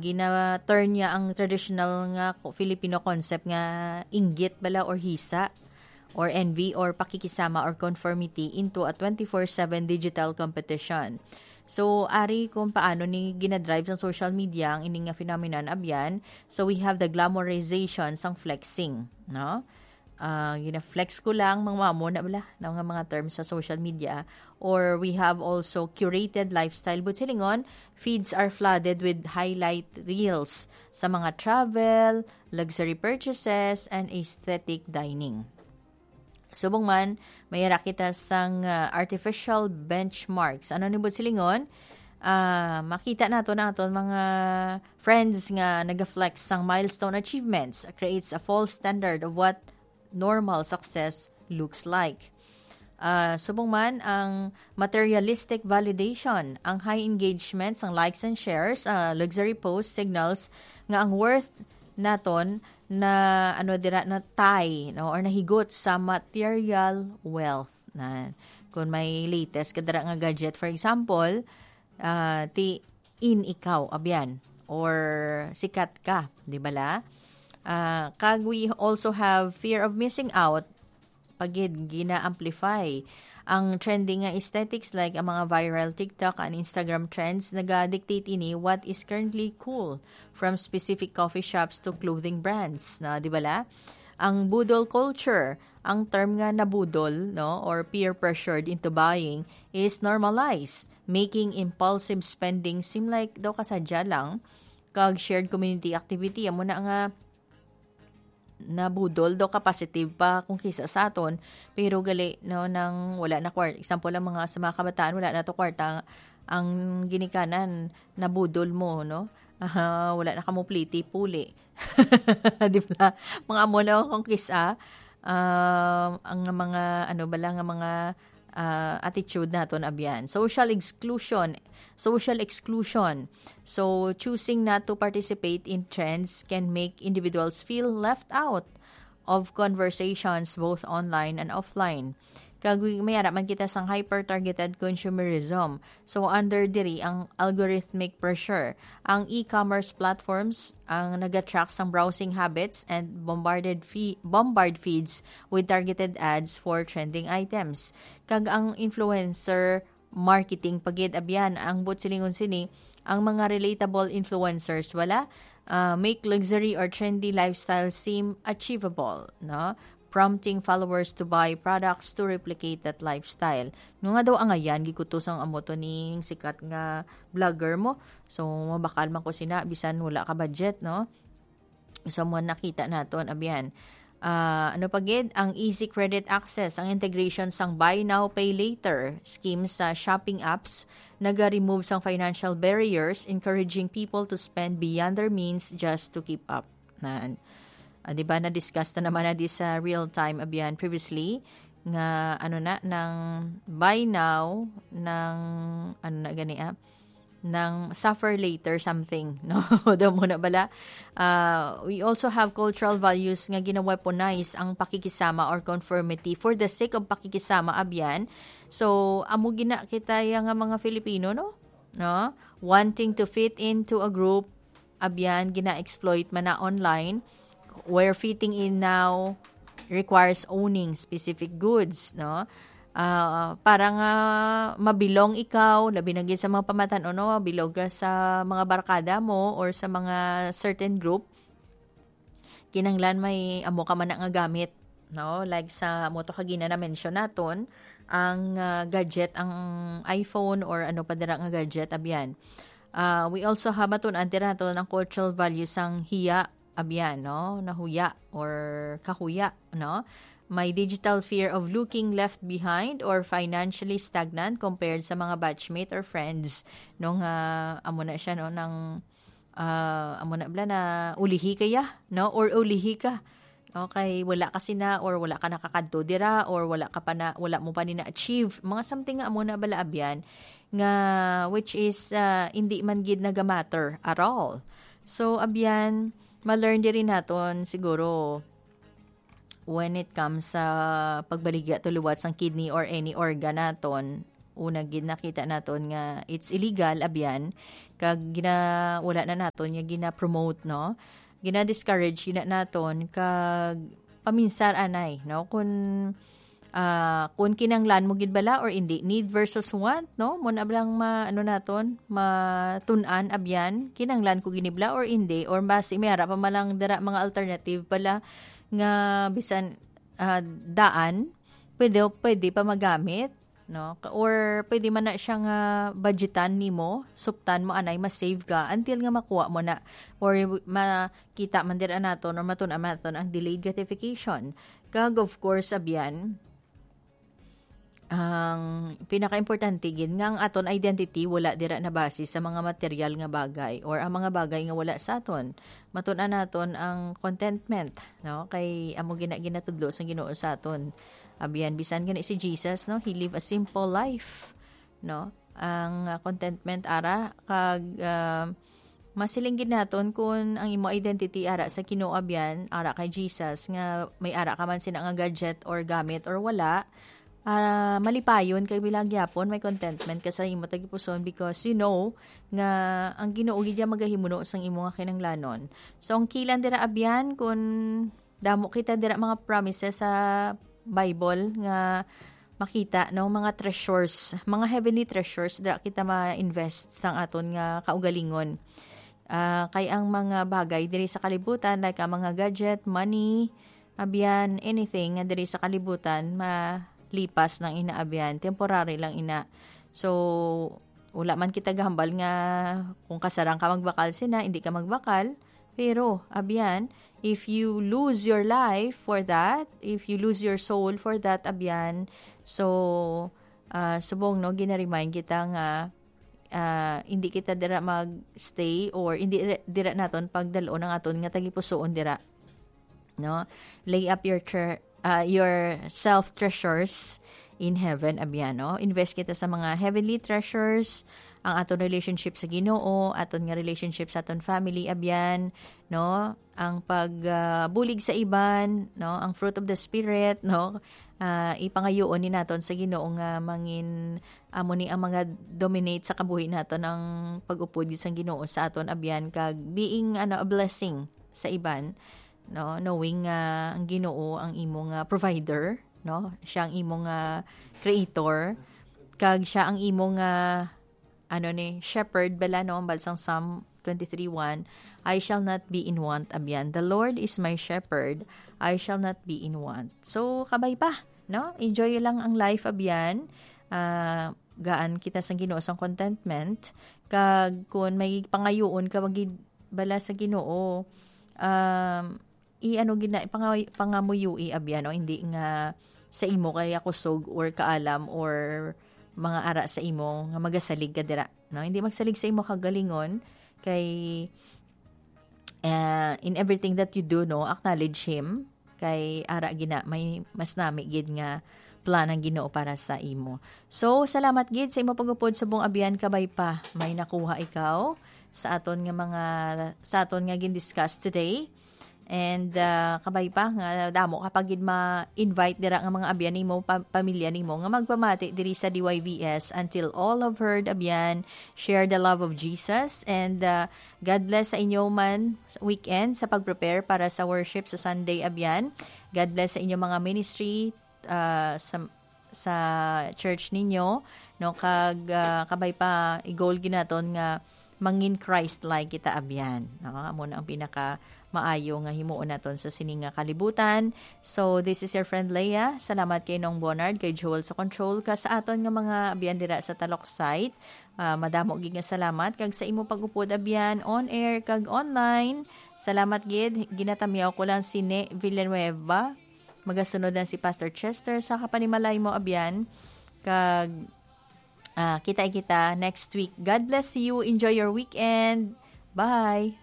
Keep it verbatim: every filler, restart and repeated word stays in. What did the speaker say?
Gina-turn niya ang traditional nga ko-, Filipino concept nga inggit bala or hisa or envy or pakikisama or conformity into a twenty-four seven digital competition. So, ari kung paano ni ginadrive sang social media ang ini nga phenomenon, abyan. So, we have the glamorization sang flexing, no? Ah, gina-flex ko lang, mga amo na bala, no, nga mga terms sa social media. Or we have also curated lifestyle. But silingon, feeds are flooded with highlight reels sa mga travel, luxury purchases, and aesthetic dining. Subong man, may ara kita sang, ah, artificial benchmarks. Ano ni buot silingon? Ah, makita nato na aton mga friends nga nagaflex sang milestone achievements creates a false standard of what normal success looks like. Ah, subong man ang materialistic validation, ang high engagement sang likes and shares, ah, luxury posts signals nga ang worth naton na, ano, dira na tie, no, or nahigot sa material wealth. Na, kung may latest ka dira nga gadget, for example, ah, ti in ikaw, abyan, or sikat ka, di bala? Ah, kag we also have fear of missing out, pagid gina-amplify. Ang trending nga aesthetics like ang mga viral TikTok and Instagram trends naga-dictate ini what is currently cool, from specific coffee shops to clothing brands, na, di bala? Ang budol culture, ang term nga nabudol, no, or peer pressured into buying is normalized, making impulsive spending seem like daw kasadya lang, kag shared community activity, amo na nga nabudol daw ka positive pa kung kisa sa aton, pero gali, no, nang wala na kwar-, example, ang mga, sa mga kabataan, wala na to kwarta, ang ginikanan, nabudol mo, no? Ah, wala na kamo pliti, puli. Di ba? Mga amo na kung kisa, um, ang mga, ano bala, nga mga, ah, attitude naton, abyan. Social exclusion. Social exclusion. So, choosing not to participate in trends can make individuals feel left out of conversations both online and offline. Kag may ara man kita sang hyper-targeted consumerism. So, under diri ang algorithmic pressure, ang e-commerce platforms ang nag-track sang browsing habits and bombarded fe-, bombard feeds with targeted ads for trending items. Kag ang influencer marketing pagid, abyan, ang buot silingon sini, ang mga relatable influencers, wala, ah, make luxury or trendy lifestyle seem achievable, no? Prompting followers to buy products to replicate that lifestyle. No nga daw angayan, gikutos ang amo to ning sikat nga vlogger mo. So, mabakal man ko sina, bisan wala ka budget, no? So, mo nakita naton, abyan. Ah, ano pa gid? Ang easy credit access, ang integration sang buy now, pay later scheme sa shopping apps, naga-remove sang financial barriers, encouraging people to spend beyond their means just to keep up. Na, ah, di ba, na-discuss na naman na di sa real time, abyan, previously, nga, ano na, nang buy now, nang, ano na gani, ah, nang suffer later something, no? Daw mo na bala. Ah, we also have cultural values nga gina-weaponize ang pakikisama or conformity for the sake of pakikisama, abyan. So, amo gina kita ya nga mga Filipino, no? No? Wanting to fit into a group, abyan, gina-exploit man na online, where fitting in now requires owning specific goods, no? Ah, para nga mabilong ikaw, labi na gid sa mga pamatan-on, no? Mabilog ka sa mga barkada mo or sa mga certain group, kinahanglan may amo ka man na nga gamit, no? Like sa mo to kagina na mention naton, ang, ah, gadget, ang iPhone or ano pa dira nga gadget, abyan. Ah, we also have, matun-an dira naton ang cultural values sang hiya, abyan, no? Nahuya or kahuya, no? May digital fear of looking left behind or financially stagnant compared sa mga batchmate or friends, no? Nga, amo na siya, no? Nang, ah, amo na bala na ulihi kaya, no? Or ulihi ka. Okay, wala ka sina or wala ka nakakadto dira or wala ka pa na, wala mo pa ni na-achieve. Mga something nga amo na bala, abyan, nga which is, ah, hindi man gid naga-matter at all. So, abyan, ma-learn diri naton siguro when it comes sa pagbaligya to liwat sang kidney or any organ naton, una gid nakita naton nga it's illegal, abyan, kag gina-, wala na naton nga gina-promote, no? Gina-discourage gina naton, kag paminsar anay, no? Kun, ah, kun kinanglan mo gid bala or indi, need versus want, no? Mo na bala ang ma-, ano naton, matun-an, abyan, kinanglan ko gini bala or indi, or basi may ara pa man lang dira mga alternative pala nga bisan, ah, daan, pwede, pwede pa magamit, no? Ka-, or pwede man na siya nga budgetan nimo, suptan mo anay, ma-save ka until nga makuha mo na, or makita man dira naton or matun-an man naton ang delayed gratification. Kag of course, abyan, ang pinakaimportante gid nga ang aton identity wala dira nabase sa mga material nga bagay or ang mga bagay nga wala sa aton. Matun-an naton ang contentment, no? Kay amo gina-, ginatudlo sang Ginoo sa aton. Abyan, bisan gani si Jesus, no? He live a simple life, no? Ang, ah, contentment ara kag, ah, masiling gid naton kun ang imo identity ara sa Ginoo, abyan, ara kay Jesus, nga may ara ka man sina nga gadget or gamit or wala, ah, malipayon kay bilang gyapon may contentment ka sa imo tagipuson because you know nga ang Ginoo gid ang magahimuno sang imo nga kinahanglanon. So, ang kilan dira, abyan, kun damo kita dira mga promises sa Bible nga makita, no, mga treasures, mga heavenly treasures dira kita ma-invest sang aton nga kaugalingon. Ah, kay ang mga bagay diri sa kalibutan, like ang mga gadget, money, abyan, anything nga diri sa kalibutan, malipas lang ina, abyan, temporary lang ina. So, wala man kita gahambal nga kung kasarang ka magbakal sina, hindi ka magbakal. Pero, abyan, if you lose your life for that, if you lose your soul for that, abyan, so, ah, subong, no, gina-remind kita nga, ah, hindi kita dira mag-stay or hindi re-, dira naton pagdalon ang aton nga tagipusoon dira. No? Lay up your tre-, ah, your self treasures in heaven, abyan, no? Invest kita sa mga heavenly treasures, ang aton relationship sa Ginoo, aton nga relationship sa aton family, abyan, no? Ang pag, ah, bulig sa iban, no? Ang fruit of the Spirit, no? Ah, ipangayuon ni naton sa Ginoo nga mangin, amo ni ang mga dominate sa kabuhi naton, ang pag-upod gid sang Ginoo sa aton, abyan, kag being, ano, a blessing sa iban, no? Knowing nga ang Ginoo ang imo nga provider, no? Siya ang imo nga creator, kag siya ang imo nga, ano ni, shepherd bala, no? Ang balsang Psalm twenty-three one, "I shall not be in want," abyan. "The Lord is my shepherd, I shall not be in want." So, kabay pa, no? Enjoy lang ang life, abyan. Ah, gaan kita sang Ginoo sang contentment. Kag kun may pangayuon ka, wag gid bala sa Ginoo, um, i-ano gid na, ipanga-, pangamuyui, abyan, no? Hindi nga sa imo kaya kusog or kaalam or mga ara sa imo nga magasalig ka dira, no? Hindi magsalig sa imo kagalingon kay, uh, in everything that you do, no, acknowledge Him. Kay ara gina, may mas nami gid nga plan ang Ginoo para sa imo. So, salamat gid sa imo pagupod subong, abyan, kabay pa may nakuha ikaw sa aton nga mga, sa aton nga gin-discuss today. And, uh, kabay pa nga damo ka pa gid ma-invite dira nga mga abyan nimo, pa-, pamilya nimo nga magpamati diri sa D Y V S. Until all have heard, abyan, share the love of Jesus. And, uh, God bless sa inyo man weekend sa pag-prepare para sa worship sa Sunday, abyan. God bless sa inyo mga ministry, ah, sa, sa church ninyo, no? Kag, ah, kabay pa, i-goal gid naton nga mangin Christ-like kita, abyan, no? Amo na ang pinaka maayo nga himuon naton sa sini nga kalibutan. So, this is your friend Leia. Salamat kay Nong Bonard, kay Joel sa control, ka sa aton nga mga abyan dira sa Talok site. Ah, madamo gid nga salamat kag sa imo pag-upod, abyan, on air kag online. Salamat gid. Ginatamyaw ko lang si Ne Villanueva. Magasunod na si Pastor Chester sa kapanimalay mo, abyan. Kag, ah, kita kita next week. God bless you. Enjoy your weekend. Bye.